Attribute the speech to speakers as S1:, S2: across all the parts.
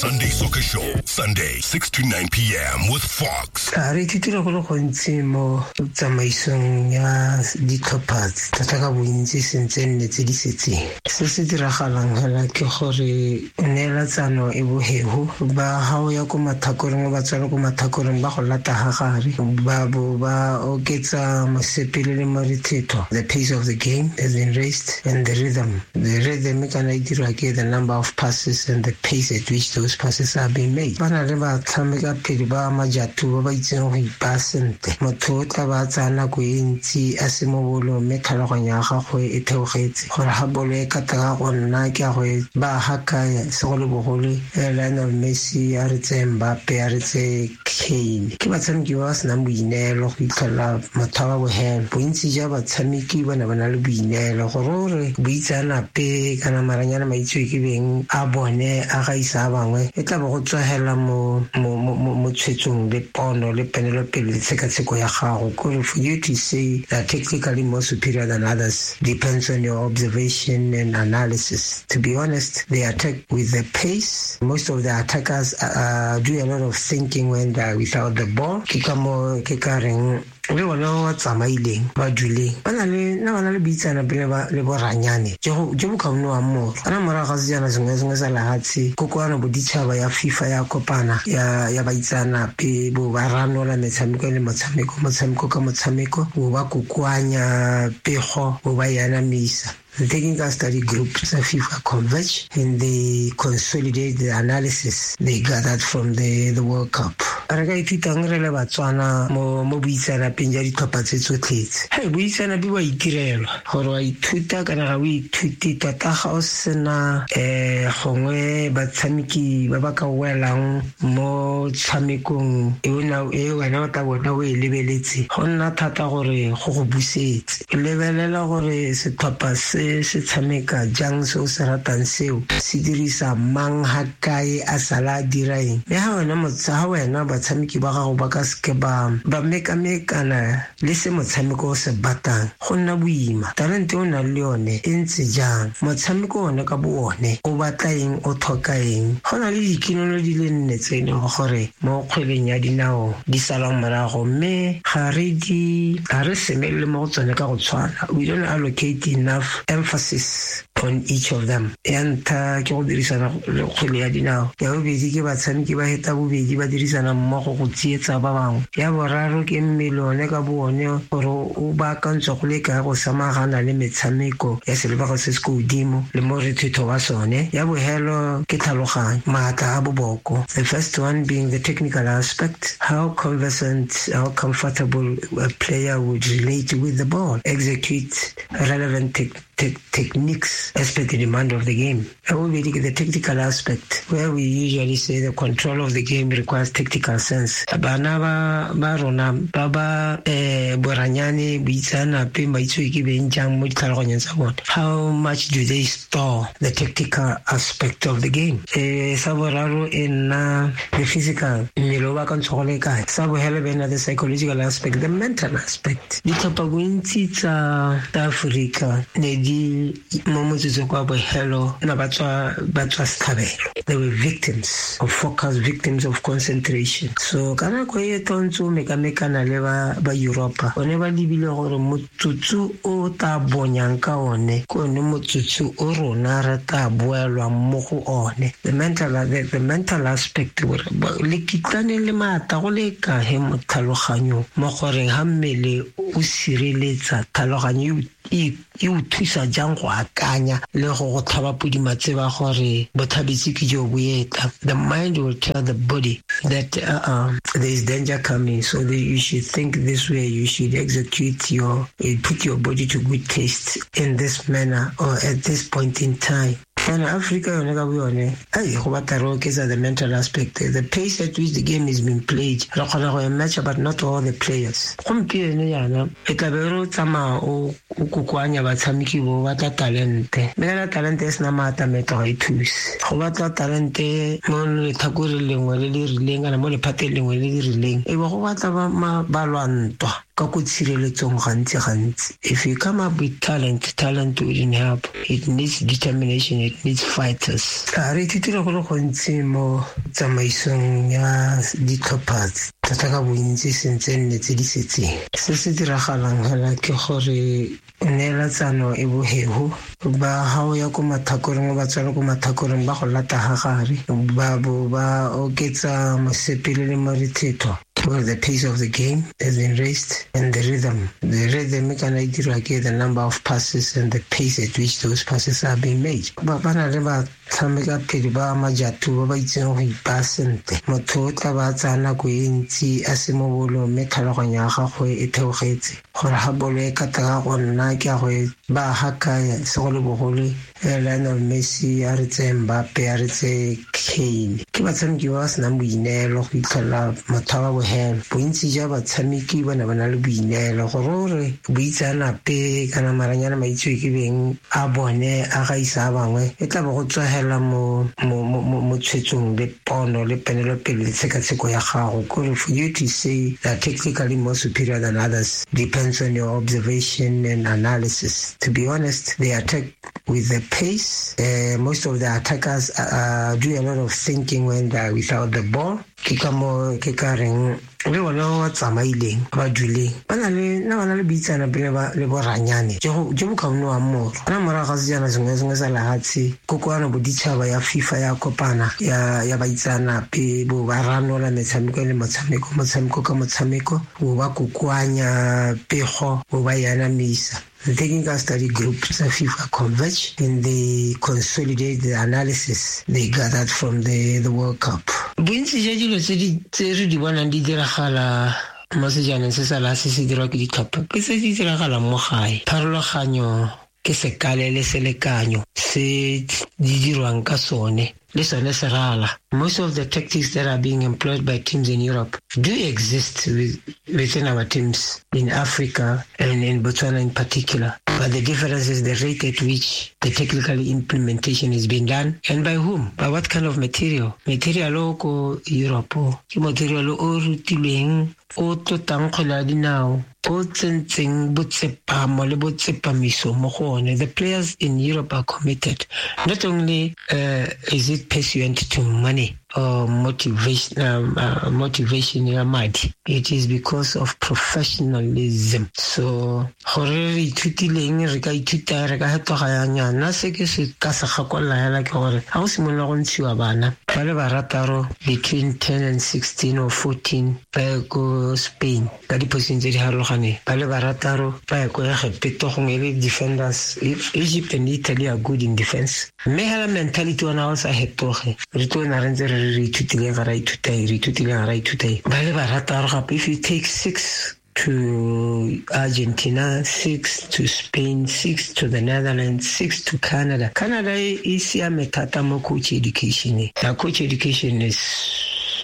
S1: Sunday Soccer Show, Sunday, 6 to 9 p.m. with Fox.
S2: A re ithutile go le gontsi mo tsamaisong ya ditlhopha thata ka bontsi sentse nne tse di setseng. Se se diragalang fela ke gore neelatsano e boheho ba ga o ya ko mathakoreng o ba tswela ko mathakoreng ba go lata ga gare ba bo ba oketsa mosepele le morethetho. The pace of the game has been raised and the rhythm. The rhythm kana e dirwa ke the number of passes and the pace at which those passes are being made. Ba na le batshameka pele ba majatu ba ba itseng go ipaa sentle. Motho o tla ba tsaya nako e ntsi a se mo bolong mme tlhaloganyo ya gagwe e theogetse gore ga bolo e kata ka go nna ke a go e ba ga kae segolobogolo Lionel Messi a re tseye Mbappe a re tseye Kane. Ke batshameki ba ba senang boineelo go itlhelela motho wa bogelo. Bontsi jwa batshameki ba ne ba na le boineelo gore o re boitseanape kana maranyane maitsewe ke beng a bone a gaisa a bangwe e tla bo go tswagela mo tshwetsong le pono le penelopele le tshekatsheko ya gago. Kore for you to say that technically more superior than others depends on your observation and analysis. To be honest, they attack with the pace. Most of the attackers do a lot of thinking when they're without the ball. Ke ka mo ke ka reng le bona ba tsamaileng ba duleng ba na le na ba na le boitseanape le boranyane jo bo ka bonwang moro kana morago ga sejana sengwe le sengwe sa lehatshe kokoano boditšhaba ya FIFA ya kopana ya baitseanape bo ba ranola metshameko le motshameko motshameko ka motshameko bo ba kokoanya pego bo ba e anamisa. The technical study group tsa FIFA converge and they consolidate the analysis they gathered from the World Cup. Re ka ithutang re le Batswana mo boitseanapeng jwa ditlhopha tse tsotlhetse. Hei, boitseanape bo a itirelwa gore wa ithuta kana ga o ithute tota ga o sena gongwe batshameki ba ba ka welang mo tshamekong e wena o tla bona o e lebeletse go nna thata gore go go busetse. Lebelela gore setlhopha se se tshameka jang se o se ratang seo se dirisa mang ga kae a sala a dira eng. Mme ga wena batshameki ba gago ba ka seke ba mekamekana le se motshameko o se batlang go nna boima. Talente o nang le yone e ntse jang, motshameko one ka bo one o batla eng, o tlhoka eng. Go na le dikinolo di le nne tse e leng gore mo kgweleng ya dinao di salang morago mme ga re semelele mo go tsone ka go tshwana. We don't allocate enough emphasis on each of them. Ya ntlha ke go dirisana le kgwele ya dinao, ya bobedi ke batshameki ba heta bobedi ba dirisana mmogo go tsietsa ba bangwe, ya boraro ke mmele one ka bo one gore o baakantswe go le kae go samagana le metshameko ya selebego se se ko godimo le morethetho wa sone, ya bohelo ke tlhaloganyo, maatla a boboko. The first one being the technical aspect, how conversant, how comfortable a player would relate with the ball, execute relevant techniques as per the demand of the game. I will be the tactical aspect, where we usually say the control of the game requires tactical sense. Bana ba rona ba ba boranyane boitseanape maitsewe ke beng jang mo ditlhaloganyong tsa bone. How much do they store the tactical aspect of the game? Sa boraro e nna the physical, mmele o ba ka ntsho go le kae. Sa bohelo be nna the psychological aspect, the mental aspect. Ditlhopha bontsi tsa Afrika ne di mo motsotsong kwa bohelo na ba tswa setlhabelo. They were victims of focus, victims of concentration. So ka nako e tlo ntse o mekamekana le ba Europa, one ba lebile gore motsotso o tla bonyang ka one ke one motsotso o rona re tla boelwang mo go one. The mental aspect gore le kitlane le maatla go le kae mo tlhaloganyong mo goreng ga mmele o sireletsa tlhaloganyo e o thusa jang go akanya le go tlhaba podi matseba gore botlhabetsi ke jo bo etla. The mind will tell the body that there is danger coming, so that you should think this way, you should execute your, put your body to good taste in this manner or at this point in time. And Africa yone ka boyone, ai go batla re oketsa the mental aspect, the pace at which the game is being played. Re kgona go e matcha, but not all the players. Gompieno yana e tla be re tsamaya o kokoanya batshameki bo batla talente, mme kana talente e sena maatla metlo ga e thuse. Go batla talente mo letlhakoreng lengwe le le rileng kana mo lephateng lengwe le le rileng, e be go batla balwantwa. Ka ko tshireletsong gantsi gantsi. If you come up with talent, talent wouldn't help. It needs determination, it needs fighters. A re ithutile go le gontsi mo tsamaisong ya ditlhopha thata ka bontsi sentse nne tse di setseng. Se se diragalang hela ke gore neelatsano e boheho ba ga o ya ko mathakoreng ba tswela ko mathakoreng ba go lata ga gare ba bo ba oketsa mosepele le morethetho. Well, the pace of the game has been raised and the rhythm. The rhythm kana e dirwa ke the number of passes and the pace at which those passes are being made. Ba na le batshameka pele ba majatu ba ba itseng go ipaa sentle. Motho o tla ba tsaya nako e ntsi a se mo bolong mme tlhaloganyo ya gagwe e theogetse. Gore ga bolo e kata ka go nna ke a go e ba ga kae segolobogolo Lionel Messi a re tseye Mbappe a re tseye Kane. Ke batshameki ba ba senang boineelo go itlhelela motho wa bogelo. Bontsi jwa batshameki ba ne ba na le boineelo gore o re boitseanape kana maranyane maitsewe ke beng a bone a gaisa a bangwe e tla bo go tswagela mo tshwetsong le pono le penelopele le tshekatsheko ya gago. Kore for you to say that technically more superior than others depends on your observation and analysis. To be honest, they attack with the pace. Most of the attackers do a lot of thinking when they're without the ball. Ke ka mo ke ka reng le bona ba tsamaileng ba duleng ba na le na ba na le boitseanape le boranyane jo bo ka bonwang moro. Kana morago ga sejana sengwe sengwe sa lehatshe kokoano boditšhaba ya FIFA ya kopana ya baitseanape bo ba ranola metshameko le motshameko motshameko ka motshameko bo ba kokoanya pego bo ba e anamisa. The technical study groups of FIFA converge and they consolidate the analysis they gathered from the World Cup. Bontsi jwa dilo tse re di bonang di diragala mo sejaneng se sa la se se dirwa ke ditlhopha ke se di diragalang mo gae. Pharologanyo ke sekale le selekanyo se di dirwang ka sone le sone se rala. Most of the tactics that are being employed by teams in Europe do exist within our teams in Africa and in Botswana in particular. But the difference is the rate at which the technical implementation is being done and by whom, by what kind of material. Material o ko Europe, ke material o rutilweng, o tlotang kgwele ya dinao, o tsentseng botsepamo le botsepamiso mo go one. The players in Europe are committed. Not only is it pursuant to money or motivation ya madi, it is because of professionalism. So gore re ithutileng re ka ithuta re ka hetoga ya nyana se ke se ka se gakolla hela ke gore ga go simolola go ntshiwa bana ba le barataro between 10 and 16 or 14 ba ye ko Spain ka diposition tse di harologaneng, ba le barataro ba ye ko Egepto gongwe e le defenders. Egypt and Italy are good in defense. Mme hela mentality ona o sa hetoge re tlo na re ntse re ithutile ga ra ithuta re ithutile ga ra ithuta. Ba le barataro gape, if you take 6 to Argentina, 6 to Spain, 6 to the Netherlands, 6 to Canada. Canada e siame thata mo coach education. The coach education is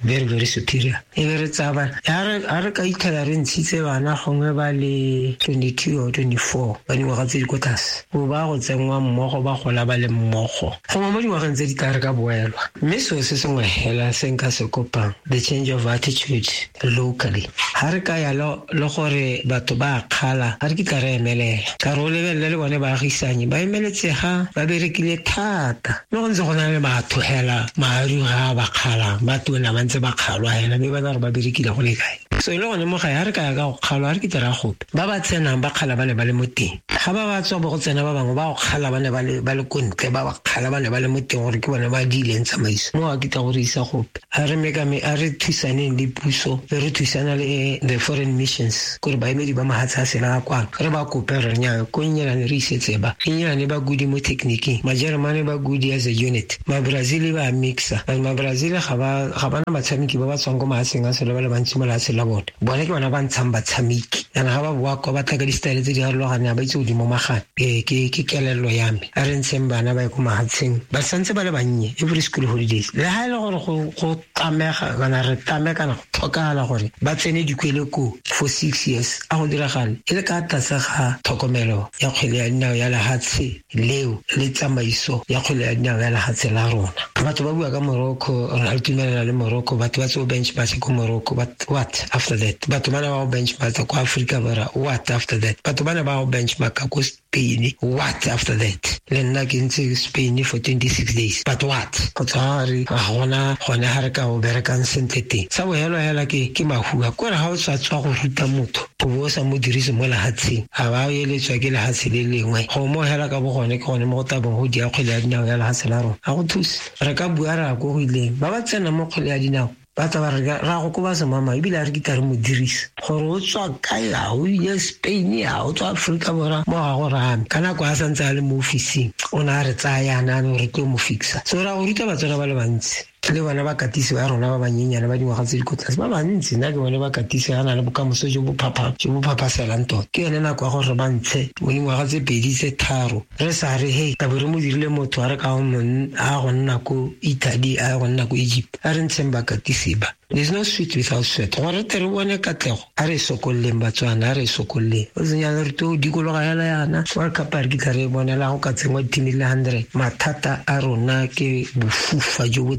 S2: very, very superior. E be re tsaya bana ha re ka itlhela re ntshitse bana gongwe ba le 22 or 24 ba dingwaga tse di ko tlase, bo ba go tsenngwa mmogo ba gola ba le mmogo gongwe mo dingwageng tse di tla re ka boelwa. Mme seo se sengwe hela se nka se kopang, the change of attitude locally. Ha re ka ya le gore batho ba kgala ga re kitla re emelela ka re o lebelele le bone baagisanye ba emeletse ga ba berekile thata mme go ntse go na le batho hela maru ga ba kgalang ba tona ba ntse ba kgalwa hela mme ba na re ba berekile go le kae. So e le gone mo gae ga re ka ya ka go kgalwa ga re kitla ra gope ba ba tsenang ba kgala ba ne ba le mo teng, ga ba ba tswa bo go tsena ba bangwe ba go kgala ba ne ba le ko ntle, ba ba kgala ba ne ba le mo teng gore ke bone ba diileng tsamaiso mo ga kitla go re isa gope. A re mekame a re thusaneng le puso re thusana le the foreign missions kore baemedi ba mahatshe a sela kwano re ba kope re nya ko Engelane re isetse ba Engelane ba good mo techniqueng, Majeremane ba good as a unit, ma Brazil ba mixa, ma Brazil ga ba na batshameki ba ba tswang ko mahatsheng a sela ba le bantsi mo lehatsheng la bone, bone ke bona ba ntshang batshameki and ga ba boa kwa ba tla ka di-style tse di harologaneng ga ba itse godimo magane. Ke kelello ya me a re ntsheng bana ba ye ko mahatsheng ba santse ba le bannye every school holidays le ha e le gore go tlamega kana re tlame kana go tlhokagala gore ba tsene dikwele ko for 6 years a go diragale e le ka tlase ga tlhokomelo ya kgwele ya dinao ya lehatshe leo le tsamaiso ya kgwele ya dinao ya lehatshe la rona. Batho ba bua ka Morocco, re a tumelana le Morocco, batho ba tseo bench ba se ko Morocco, but what? after that? Batho ba ne ba go benchmarka kwa Aforika Borwa, what after that? Batho ba ne ba go benchmarka ko Spain, what after that? Le nna ke ntse Spain for 26 days, but what? Go tswa re ga gona gone ga re ka go berekang sentle teng. Sa bohelo hela ke mahua, kore ga o tswa go ruta motho o bo o sa mo dirise mo lehatsheng, ga ba eletswa ke lehatshe le lengwe. Go mo hela ka bo gone ke gone mo go tabong go dia kgwele ya dinao ya lehatshe la rona. Ga go thuse. Re ka bua ra ko go ileng ba ba tsena mo kgwele ya dinao ba tla ba re ra go koba semama, ebile a re kitla re mo dirisa gore o tswa kae, a o ile Spain, a o tswa Aforika Borwa, mo ga go rame. Ka nako a santse a le mo officing o ne a re tsaya yana a re tlo mo fixa. So ra go ruta Batswana ba le bantsi, le bona bakatisi ba rona ba banyenyane ba dingwaga tse di ko tlase ba bantsi. Nna ke bone bakatisi ba na le bokamoso jo bo phaphaselang tota. Ke yone nako ya gore ba ntshe mo dingwaga tse 2 tse 3 re sa re hey tabo re mo dirile motho a re ka a go nna ko Italy, a go nna ko Egypt, a re ntsheng bakatisi ba. There's no sweet without sweat. Gore tle re bone katlego, a re sokolleng Batswana, a re sokolleng. O senya re to dikologa hela yana World Cup a re kitla re bonela go ka tsengwa di-team le 100. Mathata a rona ke bofufa jo bo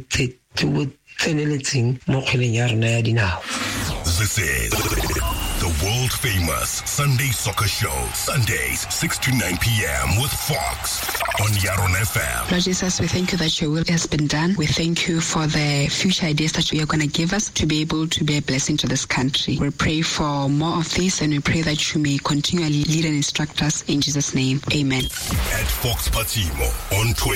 S2: tseneletseng mo kgweleng ya rona ya dinao.
S1: This is the world famous Sunday Soccer Show, Sundays 6 to 9 p.m. with Fox on Yaron FM.
S3: Lord Jesus, we thank you that your will has been done. We thank you for the future ideas that you are going to give us to be able to be a blessing to this country. We pray for more of this, and we pray that you may continually lead and instruct us in Jesus' name. Amen.
S1: At Fox Patimo on Twitter.